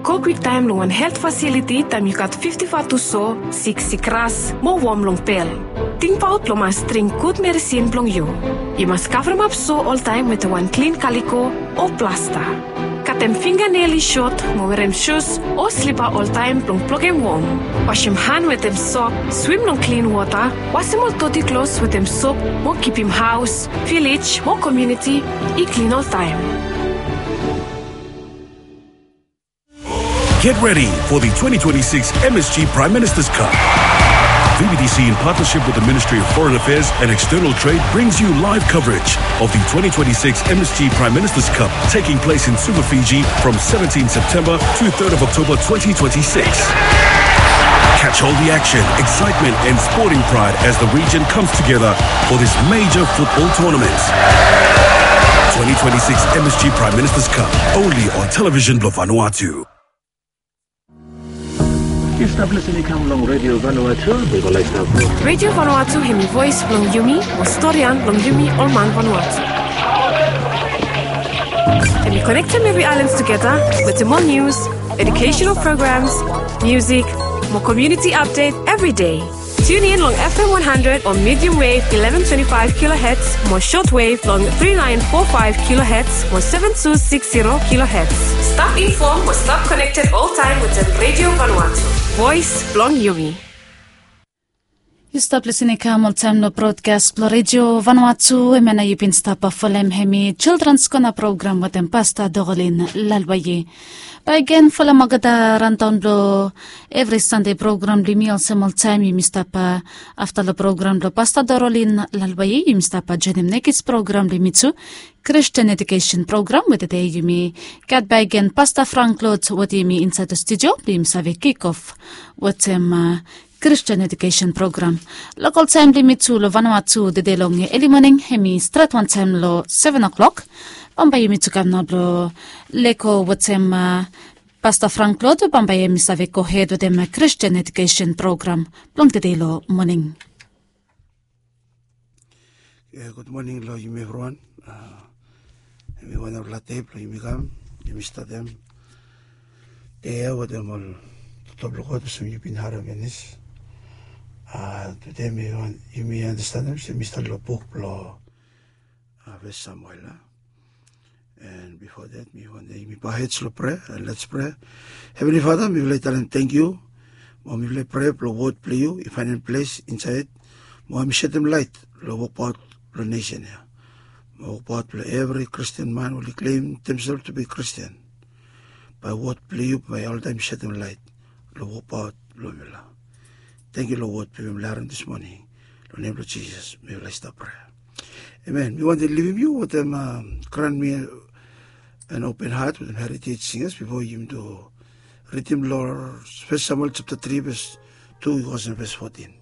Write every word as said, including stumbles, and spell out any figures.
Go kwiktaem long wan helt fasiliti taem yu gat fifti faev tu so, sik sikras mo wom long pel. Tingbaot blong mas dring gud meresin blong yu. Yu mas kavremap so oltaem wetem wan klin kaliko o plasta. Katem finganel i sot mo werem sus o slipa oltaem blong blokem wom. Wasem han wetem sop, swim long klin wota, wasem ol doti klos wetem sop mo kipim haos, vilej mo komuniti i klin oltaem. Get ready for the twenty twenty-six M S G Prime Minister's Cup. V B T C, in partnership with the Ministry of Foreign Affairs and External Trade, brings you live coverage of the twenty twenty-six M S G Prime Minister's Cup, taking place in Suva, Fiji, from seventeenth September to third of October twenty twenty-six. Catch all the action, excitement, and sporting pride as the region comes together for this major football tournament. Twenty twenty-six M S G Prime Minister's Cup, only on Television Blue Vanuatu. Yu stap lisin i kam long Radio Vanuatu. Yu go laik stap. Radio Vanuatu hemi voes blong yumi, mo storian blong yumi ol man Vanuatu. Hemi konektem evri aelan tugeta wetem ol nius, educational programs, musik, mo community update evri dei. Tune in long F M one hundred o medium wave eleven twenty-five kilohertz, mo shortwave long three nine four five kilohertz mo seven two six zero kilohertz. Stap infom mo stap konekted oltaem wetem Radio Vanuatu, voes blong yumi. Yu stap lisin i kam oltaem long brodkas blong Radio Vanuatu, hemia nao yu bin stap folem hemi Children's Corner program wetem Pasta Dorolin Lalwaye. Bakegen folem olgeta randaon blong evri Sande program blong yumi olsem oltaem yumi stap, a, afta long program blong Pasta Dorolin Lalwaye, yumi stap, a, joenem nekis program blong yumi tu, Christian Education Program, we tede yumi gat bakegen Pasta Frank Lord wetem yumi insaed long studio blong yumi save kikof wetem, a, Christian Education Program. Lokol taem blong yumi tu long Vanuatu tede long eli moning hemi stret wantaem long seven o'clock. Bambae yumi tu kam nao blong lego wetem, a, Pasta Frank Lord, bambae hemi save gohed wetem, a, Christian Education Program blong tede long moning. Ia, gud moning long yumi evriwan. A, hemi wanful dei blong yumi kam, yumi statem dei ia wetem ol toktok blong God olsem yumi bin harem finis. A, tude mi wan, yumi andastanem se mi stat long buk blong, a, Fes Samuel, a. And before that, mi wantem yumi bow heads long prayer, and let's pray. Heavenly Father, mifala i talem tangkiu mo mifala i prea blong wod blong yu i faenem ples insaed mo hemi setem laet long wokbaot blong nesen ia, mo wokbaot blong evri Kristin man we oli klem demsel tu bi Kristin. Bae wod blong yu bae oltaem setem laet long wokbaot blong mifala. Tangkiu long wod blong yumi harem dis moning. Long nem blong Jisas mifala i stap prea. Amen. Mi wantem livim yu wetem, a, grant me an open heart wetem Heritage Singers bifo yumi tu ridim long Fes Samuel japta tri ves tu i go olsem ves fotin.